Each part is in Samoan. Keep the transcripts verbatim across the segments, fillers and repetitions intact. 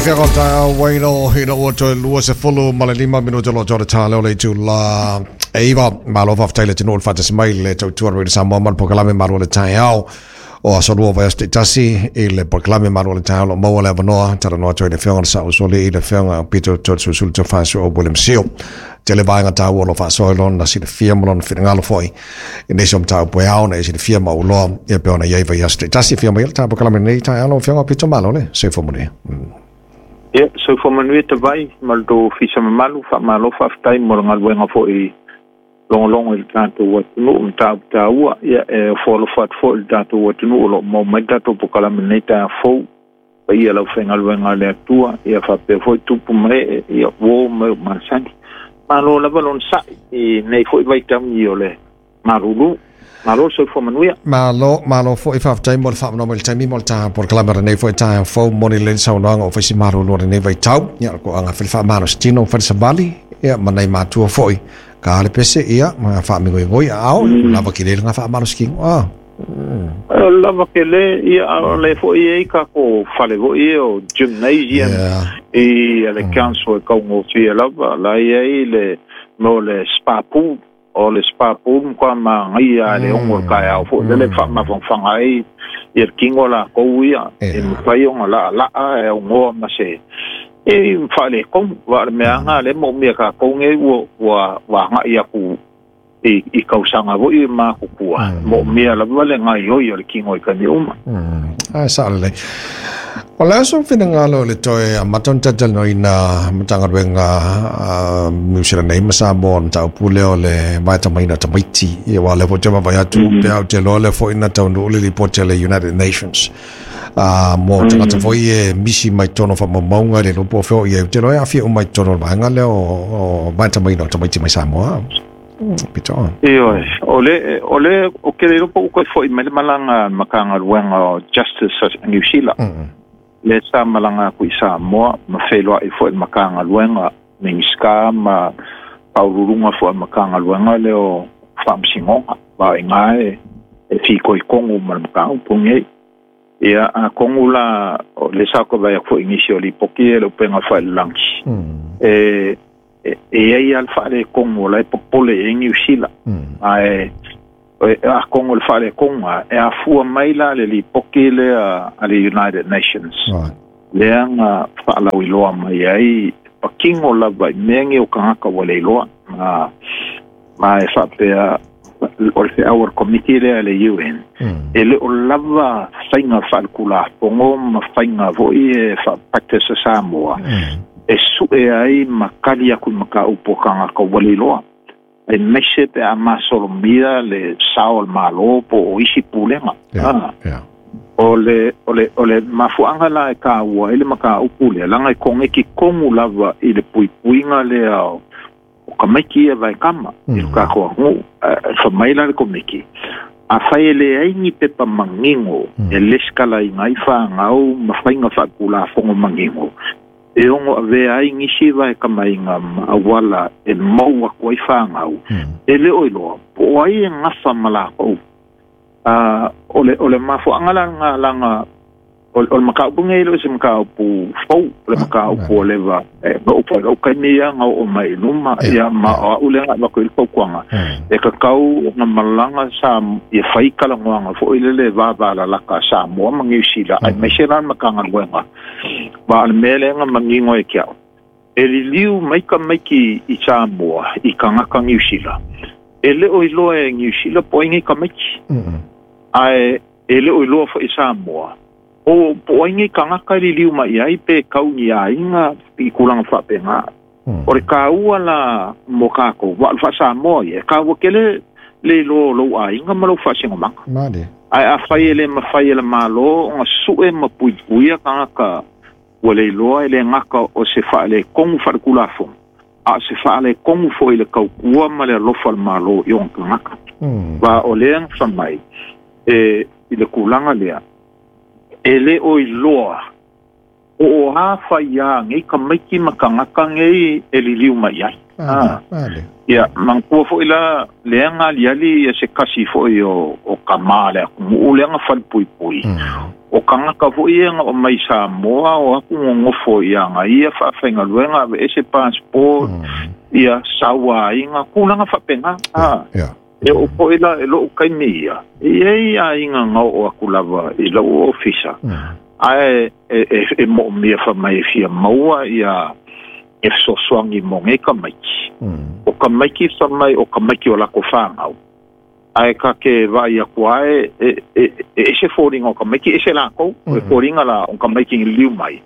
Waino hina ua toe lua se fulu ma le lima minuta lo tore tā leo le itu la eiva malo faafetai le atunuu o le faatasi mai le tautua Radio Samoa ma le polokalame Malu o le Taeao o aso lua vaiaso taitasi i le polokalame Malu o le Taeao o lo o maua le avanoa talanoa atu ai le afioga o le Saʻausoalii le afioga o Pito Toeolesulusulu Tofaeoso o William Sio tele vaega taua o lo o faasoa i lona silafia ma lona finagalo foi i nisi o mataupu e ao ona e silafia ma uloa ia pe ona i ai vaiaso taitasi afio mai le tā polokalame lenei taeao lau afioga o Pito Malo le soifua manuia. Ia, soifua manuia tavai ma le tou ofisa mamalu, faamalo faafetai mo le galuega foi logologo i le tatou atunuu mataupu taua. Ia, e ofo alofa atu foi i le tatou atunuu o loo maua mai le tatou polokalame lenei taeao fou. Paia lau faigaluega a le Atua, ia faapea foi tupu ma ee, ia uo ma e o masani. Malo lava lona sa'i i nei foi vaitaimi o le malulu. Malo le soifua manuia. Malo, malo foi faafetai mo le faamanoa mai le taimi mo le ta polokalame o lenei foi taeao fou moni lelei le saunoaga o faisi malulu o lenei vaitau. Ia o le koaga fai le faamalositino fai le savali ia ma nai matua foi ka le pese ia ma faamigoigoi aao lava kele le faamalositino. Ah. Lava kele ia o le foi e ka ko fale foi o gymnasium i le council e kaugofie lava la i ai le mo le spa pool o le spa pool kwa maagaia le ogo o le taeao foi lele faamafanafana ai ia le tino lakou ia e mafai ona laalaa e augoa ma se e faaletonu va o le meaga le moomia tatou nei ua ua ua agai atu i i tausaga foi matutua moomia lava le gaioi o le tino i taimi uma. Ae sao lelei. O le aso finagalo le toe amata ona talatalanoaina Matagaluega Niu Sila nei ma Samoa o le mataupu lea o le vaetamaina o tamaiti. Ia aua o lea foi ou te vaavaai atu pe a ou te iloa lea foi na taunuu le lipoti a le United Nations mo tagata foi e misi mai totonu o faamaumauga i le iloa po o fea o i ai. Ou te iloa e aafia uma i totonu o le vaega lea o vaetamaina o tamaiti mai Samoa. Pito. Ioe, o le o le o ke le iloa po ua toe foi mai le malaga a le Matagaluega o Justice a Niu Sila. Le sa malaga atu i Samoa ma feiloai foi i le Matagaluega Minisita ma faauluuluga foi a le Matagaluega lea o Faamasinoga va i ina e e fitoitonu ma le mataupu lenei. Ia atonu la o le sa toe vaai atu foi i nisi o lipoti ia i le upega faailalagi e e i ai lava le faaletonu o la e popole i ai Niu Sila. Ae atonu o le faaletonu e afua mai la le lipoti lea a le United Nations lea na faalauiloa mai ai patino lava i mea nei o tagata ua le iloa ma ma e faapea o le feau a le komiti lea a le U N e le o lava faiga faaletulafono ma faiga foi e faa-practice a Samoa e sue ai ma kali atu i mataupu o tagata ua le iloa. E maise pe a masolomia le sao o le Malo po o isi pulega. O le, o le, o le mafuaaga la e taua ai le mataupu lea, leaga e koneki komu lava i le puipuiga lea o tamaiti ia vaekama i le tatou atunuu. Fai mai la le komiti, afai e leai ni pepa manino e lesitalaina ai fanau ma faiga faatulafono manino e ono avea ai nisi vaekamaiga ma auala e mau atu ai fanau e le o iloa po o ai e gafa ma lakou. O le o le mafuaaga la laga o le mataupu nei e le o se mataupu fou, o le mataupu o leva e oo foi lou taimi ia na oo mai i luma ia ma o a'u lea na avatu ai le fautuaga e tatau ona malaga sa ia fai talanoaga foi lele vavalalata a Samoa ma Niu Sila aemaise la le Matagaluega va o le mea lea na manino ai ke a'u e liliu mai tamaiti i Samoa i tagata Niu Sila e le o iloa e Niu Sila po o ai nei tamaiti ae e le o iloa foi i Samoa o po o ai nei tagata e liliu mai ai pe kau ni aiga i tulaga faapena. O le taua la mo tatou va o le faasamoa ia e taua tele le iloa o lou aiga ma lou faasinomaga. Ae afai e le mafai e le Malo ona sue ma puipuia tagata ua le iloa e le gata o se faaletonu faaletulafono a o se faaletonu foi i le tautua ma le alofa o le Malo i ona tagata. Va o lea na fai mai e i le tulaga lea e le o iloa o o a fai a nei tamaiti ma tagata nei e liliu mai ai. Ia manatua foi la lea na aliali ia se kasi foi o o kamā le atunuu lea na falepuipui O kangaka foʻi e ga o mai Samoa o aku gogofo ia agaia faafaigaluega aveese passport ia sauāiga kulaga faapega a e oo foʻi la e loʻu kaimi ia e iai aiga gaoo aku lava i lou ofisa ae e e moʻomia faamai e fia maua ia e fesoasoagi mo gei kamaiki o kamaiki faamai o kamaiki o lako fagau ae ka ke vaai aku ae e e e ese foliga o kamaiki ese lakou o e foliga la o kamaiki liliu mai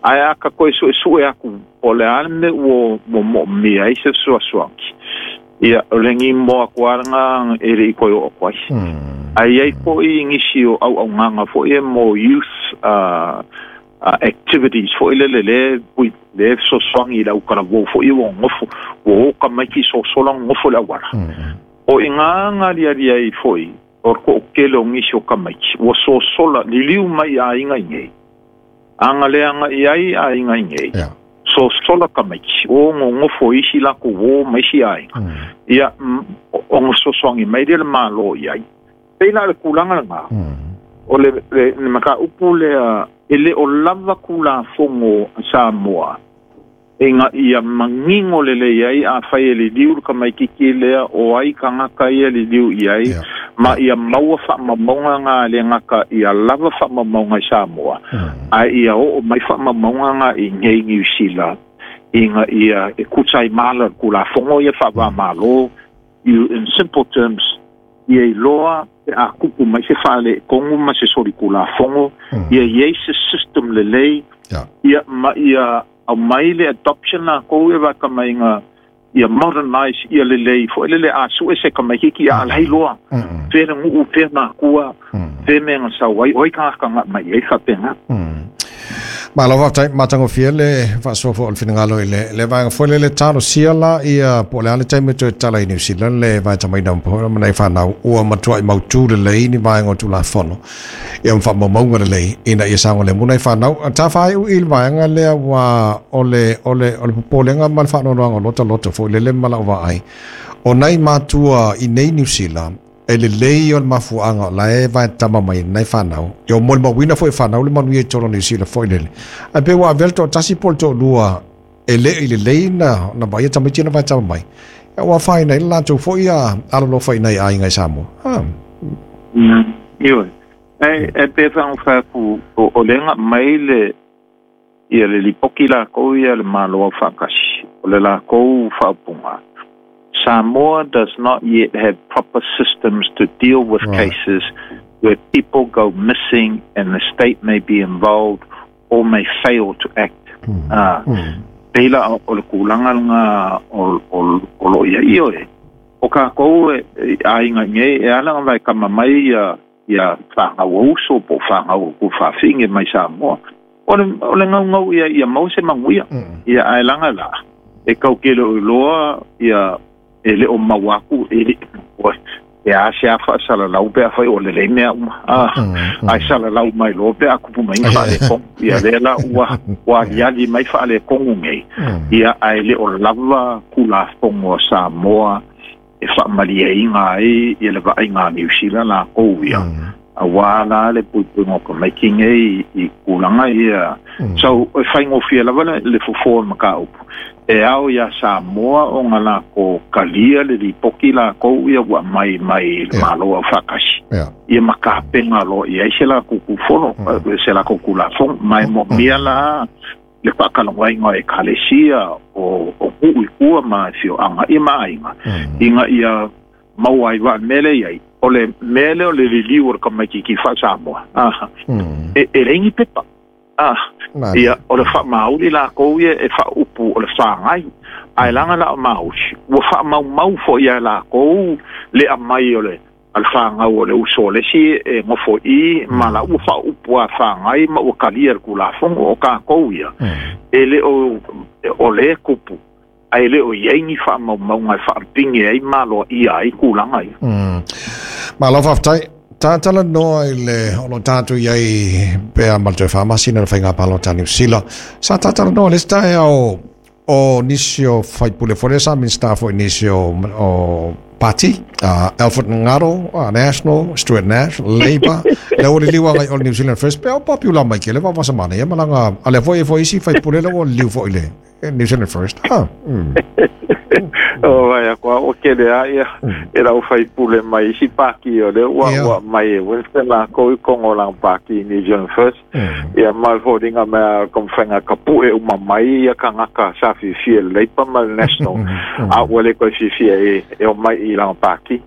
ae a ka koe suʻesuʻe aku o le a le mea ua ua moʻomia ai se fesoasoagi ia o le gimo aku alaga e leʻi koe oo aku ai ae iai foʻi gisi o ʻauʻaugaga foʻi e mo youth uh, uh, activities foʻi lele lē pui le fesoasoagi i le aukalavou foʻi ua gofo ua o kamaiki sosola gofo le auala o i ngā ngā lia ai foʻi o le koʻokele o gisi o kamaiki ua sosola liliu mai aiga i nei agaleaga i ai aiga i nei sosola kamaiki o gogofo isi lakou uō ma isi aiga ia o gasosoagi mai lea le mālō i ai pei la o le kulaga lagā o le le makaupu lea e le o lava kulafogo a Samoa e nga ia mangingo lelei ai afai e liliu le kamaikiki lea o ai kagaka ia liliu i ai ma ia maua faamaumauga ga le gaka ia lava faamaumauga i Samoa ae ia oo mai faamaumauga ga i nei Niu Sila ina ia e kusa i mala le kulafogo ia faavāmālō in simple terms ia iloa pe a kupu mai se faaleʻetogu ma se soli kulafogo ia iai se system lelei ia ma ia au mai le adoption lakou e vakamaiga ia modernize ia lelei foʻi lele a suʻe se kamaikiki ia alai loa fea le guʻu fea makua fea mea ga sau ai oi kagakaga mai ai faapega. Malo faafetai matagofie le faasoa foʻi o le finagalo i le le vaega foi le le talosia la ia po o le a le taimi toe tatala i Niu Sila le vaetamaina ma nai fanau ua matuaʻi mautū lelei ni vaega o tulafono ia ma faamaumauga lelei ina ia saogalemu nai fanau tafaaiʻu i le vaega lea ua o le o le o le popolega ma le faanoanoaga o lotaloto foʻi lele ma lau vaai o nai matua i nei Niu Sila e lelei o le mafuaga o lae vaetama mai nai fanau ia o molimauina foʻi fanau le manuia i tolo Niu Sila foʻi lele ae pe ua avea le toʻatasi po o le toʻalua e le i lelei na na vaia tamaiti na vaetama mai ia ua afaina ai le latou foʻi a alolofa i nai aiga i Samoa. Ioe e e pe faagofai o le gaʻi mai le ia le lipoki lakou ia le Mālo aufaakasi o le lakou faaupuga Samoa does not yet have proper systems to deal with Right. cases where people go missing and the state may be involved or may fail to act. Ah, pei la o le kulaga laga o o o lo ia io e. O kākou e aiga nei e ala ga vaekama mai ia ia fagau uso po fagau ku faafige mai Samoa. O le o le gaugau ia ia mau se manuia. Ia ae laga la e kaukele o iloa ia e le o mau aku e le e a se a faasalalau pe afai o lelei mea uma a ae salalau mai loa pe a kupu mai faalekogo ia lea la ua ua aliali mai faalekogo nei ia ae le o lava kulafogo a Samoa e faamalieiga ai ia le vaaiga a Niu Sila lakou ia auā la le puipuiga o kamaiki nei i kulaga ia so e faigofie lava le le fofo o le makaupu e ao iā Samoa ona lako kalia le lipoki lakou ia ua mai mai le Mālo aufaakasi ia ma kapega loa i ai se lakou kufono se lakou kulafogo ma e moʻomia la le faakalagoaiga o ekalesia o o kuʻu i kua ma e fioʻaga ia ma aiga ina ia maua ai vaa mea lea iai o le mea lea o le liliu o le kamaikiki faa-Samoa ah e e leai ni pepa ah ia o le faamauli lakou ia e faaupu o le fagai ae laga la o mauli ua faamaumau foʻi ia lakou le aumai o le a le fagau o le uso o le isi e gofoʻi ma la ua faaupu a fagai ma ua kalia le kulafogo o kakou ia e le o o le kupu ae le o iai ni faamaumauga e faapige ai maloaʻia ai kulaga ia. Malo faafetai tatala noa i le o lo tatou iai pea ma le toe faamasina le faiga palota Niu Sila sa tatala noa le isi taeao o nisi o faipule foi sa Minista foi nisi o, o party, uh, Alfred Ngaro, uh, National, Stuart Nash, Labour, le o le liwa ngai o New Zealand First, pe o popular mai ke le vavasa mana ia malanga, ale foi foi isi faipule le o liu foi le New Zealand First. Ha. Mm. O vai a kwa o ke le ia e rau faipule mai isi paki o le ua ua mai e Winston la ko i kongo lang paki New Zealand First. Ia mal holdinga mea komwhenga kapu e uma mai ia kangaka sa fifi e Labour ma le National. A ua le koe fifi e e o mai i lang paki.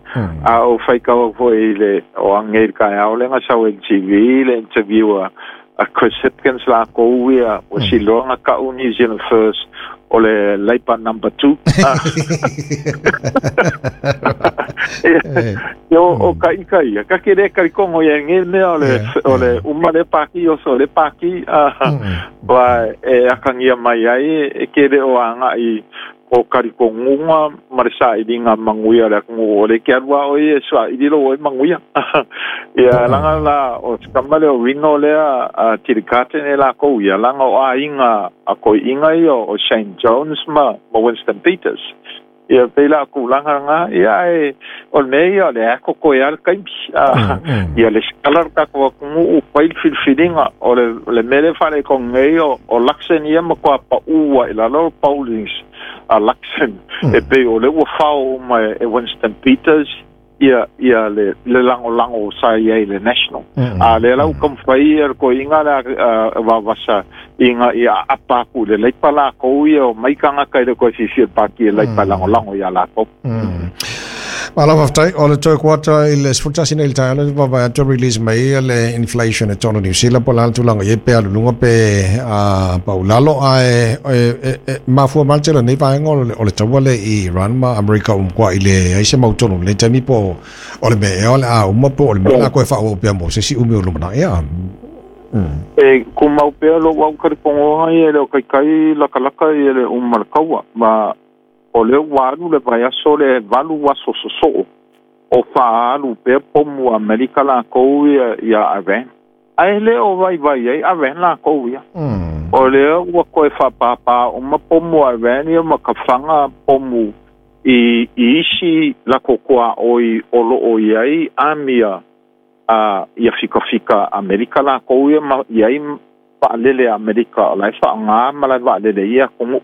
A o whaikawa foi le o angel kai au lenga sau N T V le interview a a Chris Hipkins la ko ia o siloanga ka u New Zealand First o le Labour number two. Yo o ka ika ia ka ke le ka kongo ia nge me o le o le uma le paki o so le paki wa e akangia mai ai e ke le o anga i o kari kongunga marisa i linga manguia le kongu o le ke arua o ie sua i lilo o manguia. Ia langa la o skamale o ringo lea a tirikate ne la kou ia langa o a inga a koi inga ia o Shane Jones ma, ma Winston Peters. Ia pela ku langa nga ia e o me ia le ako ko ia kaimi ia le skalar ka ko ku u pai filfilinga o le le mele fale ko ngai o o Luxen ia ma ko pa ua i la lo Paulings a Luxen e pe o le ua fao ma e Winston Peters ia ia le le lango lango sa ia le National. A le lau kom fai er ko inga la va vasa inga ia apa ku le leipa la ko ia o mai kanga kai le ko fifi pa ki leipa lango lango ia la ko. Malo faafetai o le toe kuata i le sefulutasi nei i le taeao va vai atu release mai le inflation e tonu New Zealand po le tulaga i pe aluluga pe a paulalo ae e mafua mai tele nei vaega o le taua le i Iran ma Amerika umkua i le ai se mautonu le taimi po o le mea o le a uma po o le mea la koe faaoo pea mo se si umi o lumanaʻi ia. E kumau pea lo wau karipongoga ia le o kaikai lakalaka ia le uma le kaua ma o le walu le vaiaso le valu aso sosoo o faalu pea pomu Amerika lakou ia ia Iran ae le o vaivai ai Iran lakou ia o lea ua koe faapāpā uma pomu Iran ia ma ka faga pomu i i isi lakokoa oi o loo iai amia a ia fikafika Amerika lakou ia ma iai faalele Amerika o lae faagā ma lae faalele ia kogu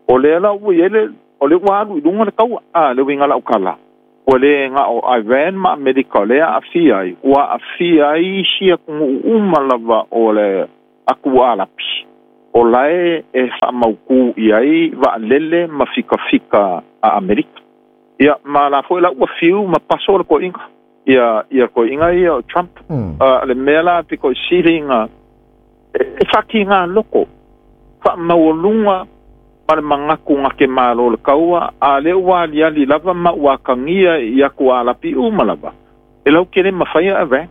o lea la ua iai le o le ua alu i luga le kaua a le uiga lau kala o le nga o Iran ma Amerika o lea aafia ai ua aafia ai isi atunuu uma lava o le aku alapi o lae e faamaukū i ai vaalele ma fikafika a Amerika ia ma la foi la ua fiu ma paso le koiga ia ia koiga ia o Trump a le mea la piko siliga e fakiga loko faamaualuga ma le magaku gake malo le kaua a le ua aliali lava ma ua kagia i aku alapi uma lava e lau kele mafaia Iran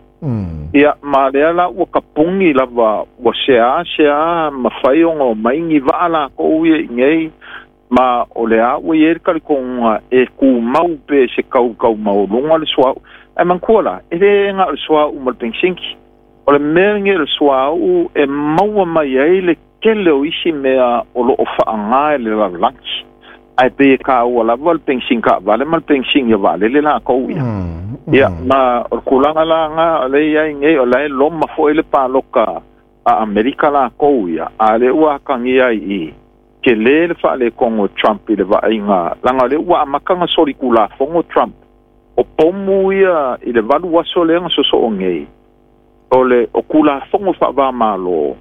ia ma lea la ua kapugi lava ua seā seā mafai oga o maigi vaa lakou ia igei ma o le a ua iai le kalikoga e kumau pe se kaukaumaualuga le suaʻu ae manakua la e lē ga o le suaʻu ma le pegisinki o le mea lagi o le suaʻu e maua mai ai le kele o isi mea o loo faagā e le lalolagi ae pe e kāua lava le pegising kaavale ma le pegising ia vaalele lakou ia ia ma o le kulaga laga o le iai nei o lae loma foʻi le paloka a Amerika lakou ia a le ua akagia ai i ke lē le faalekogo Trump i le vaaiga laga o le ua amakaga solikulafogo Trump o pomu ia i le valu aso lea ga sosoo nei o le o kulafogo faavāmālō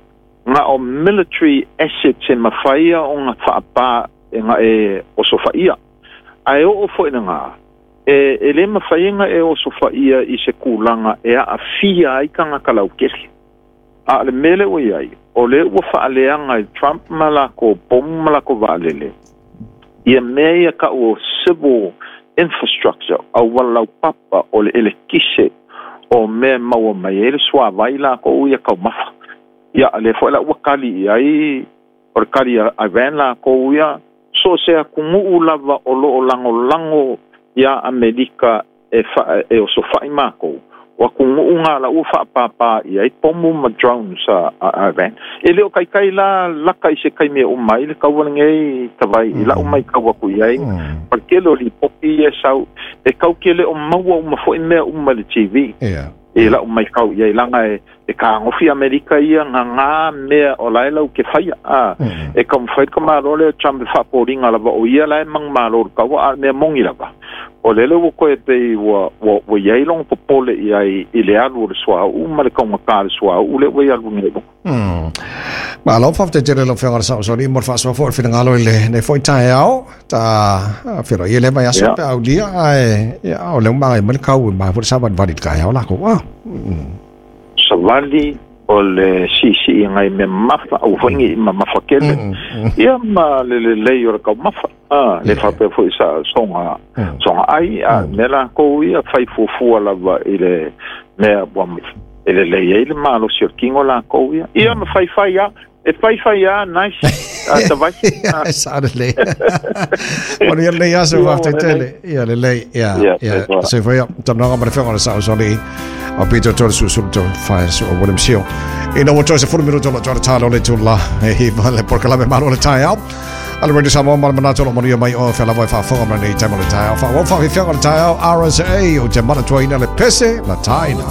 nga o military assets e mafaia o nga faapā e nga e osofaia ae oo foʻi lagā e e lē mafaiga e osofaia i se kulaga e aafia ai tagata laukele a le mea le ua iai o le ua faaleaga i Trump ma lakou pomu ma lakou vaalele ia mea ia kaʻu o civil infrastructure aualaupapa o le elekise o mea maua mai ai le suavai lakou ia kaumafa ia le foi la ua kali i ai o le kali a Iran lakou ia so se atunuu lava o loo lagolago ia Amerika e fa e osofaʻi makou O atunuu la ua faapāpā i ai pomu ma drones a, a Iran. E le o kaikai la laka i se kaimi e uma ai le kaua lenei tavai i lau maitau aku i ai. Ma le tele o lipoti ia e sau e kau ke le o maua uma foi mea uma i le T V. Ia. I lau maitau i ai laga e e kagofi Amerika ia gagā mea o lae lau ke faia a e taumafai ka Malo lea Trump e faapoliga lava o ia la e magumalo le kaua, a mea moni lava o lele ua koe pei ua ua ua iai loga popole i ai i le alu o le suauu ma le kaugatā le suauu le ua i alu nei. Mm. Malo, faafetai tele lau Afioga i le Saosaoalii mo le faasoa foi o le finagalo i lenei foi taeao. Ta feiloai i le vaiaso Ia. pe aulia, ae ia, o lea ua magai mai le kau e mai foi le savalivali i le taeao lakou. Ah. Mm. Savali o le siisii agai mea mamafa aua foi nei mamafa tele Mm. Mm. ia ma le lelei o le taumafa a le Ia. faapea foi sa soga Mm. soga ai a mea lakou ia fai fuafua lava i le mea ua e lelei ai le malosi o le kino lakou ia ia ma faifai a e faifai a nice a tavai. Ia, sa lelei. O le lelei aso, Ia, faafetai ua tele. Ia lelei, ia, Ia, ia. soifua. Soifua ia. Talanoaga ma le Afioga i le Saosaoalii o Peter Tolesusulu to fai su o William Seal. Ina ua toe sefulu minuto lo toa talo le tula e hiva le polokalame Malo le Taeao. A le Radio Samoa ma le manatu o lo manuia mai o fea lava e faafofoga ma nei taimo le taeao. Faaauau faafiafiaga o le taeao R S A o te manatuaina le pese la taina.